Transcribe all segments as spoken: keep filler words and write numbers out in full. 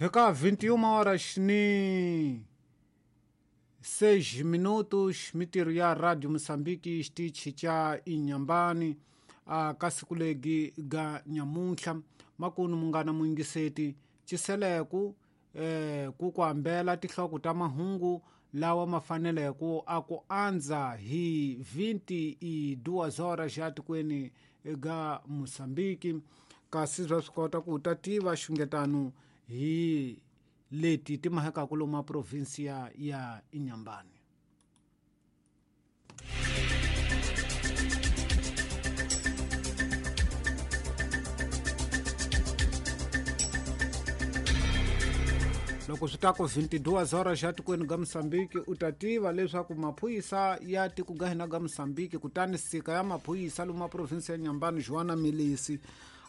Eka vinte e uma horas ni seis minutos, mitirho ya Radio Mozambique xitichi xa Inhambane a ka siku legi ga nyamuntlha makunu munghana muyingiseti ciseleku eh, ku ku hambela tinhloko ta mahungu lawa ma faneleke a ku andza hi vinte e duas horas ya tikweni ga Mozambique, kasi bya swi kota ku ta tiva xungetano hi leti ti mahekaku lomu a provinsia ya Inhambane. Loko swi ta ku vinte e duas horas ya tikweni ga Mozambique u ta tiva leswaku maphorisa ya tiko ga hina ga Mozambique, kutani sika ya maphorisa lomu a provinsi ya Inhambane Joana Milisi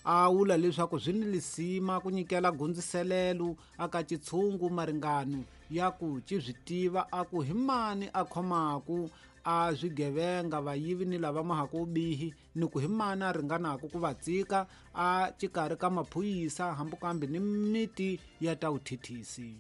a vula leswaku swi ni lisima ku nyikela gundziselelo aka xitshungu maringano ya ku ci swi tiva a ku hi mani a khomaku a swigevenga vayivi ni lava mahaku vubihi ni ku hi mani a ringanaku ku va tsika a xikarhi ka maphorisa hambi kambe ni miti ya ta vuthithisi.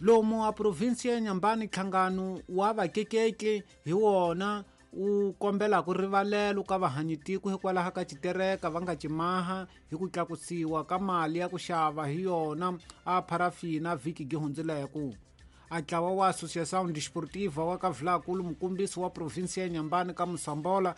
Lomu a provinsi ya Inhambane nhlangano wa vakekeki hi wona u kombela ku rivalelo ka vahanyitiko hikwalaho ka xitereka va nga cimaha hi ku tlakusiwa ka mali ya ku xava hi yona a parafina vhiki gi hundzileko. A ntlawa wa Associação Desportiva wa ka Vilakulu mukombisi wa provinsi ya Inhambane ka Mosambola